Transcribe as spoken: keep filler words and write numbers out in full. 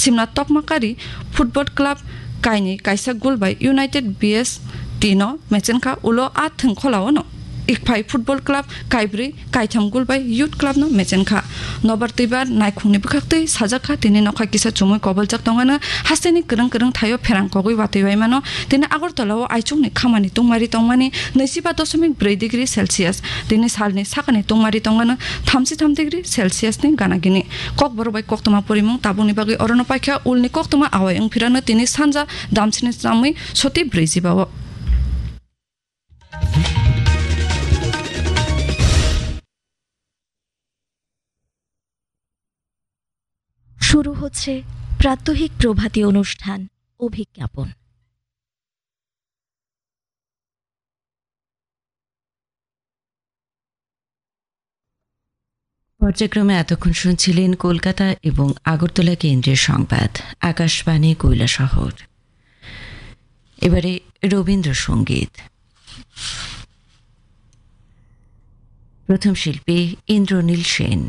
Simna Tokmakari Football Club kainwi kaisa goal bai United B S T no mechenkha, ulo a thwngkholao no Ikphai Football Club kaibrwi kaitham goal bai Youth Club no mechenkha. Nobar twibar naikhungni bwkhaktwi sajakha, tini nokha kisa chumui koboljak tongmano, hasteni kwrwng kwrwng thaio pherang kogwi watwi waimano, tini Agartala o aichukni khamani tungmari tongmani naichiba dosomik bwrwi degree Celsius, tini salni sakani tungmari tongmano thamchi tham degree Celsius ni gana gini. Kokborok bai koktwma porimung tabukni bagwi orono paikha, ulni koktwma awai wngphirano tini sanja damsini chamwi soti brwijiba o. শুরু হচ্ছে প্রাত্যহিক প্রভাতী অনুষ্ঠান অভিজ্ঞাপন। পর্যায়ক্রমে এতক্ষণ শুনছিলেন কলকাতা এবং আগরতলা কেন্দ্রের সংবাদ, আকাশবাণী কৈলাসহর। এবারে রবীন্দ্রসঙ্গীত। প্রথম শিল্পী ইন্দ্রনীল সেন।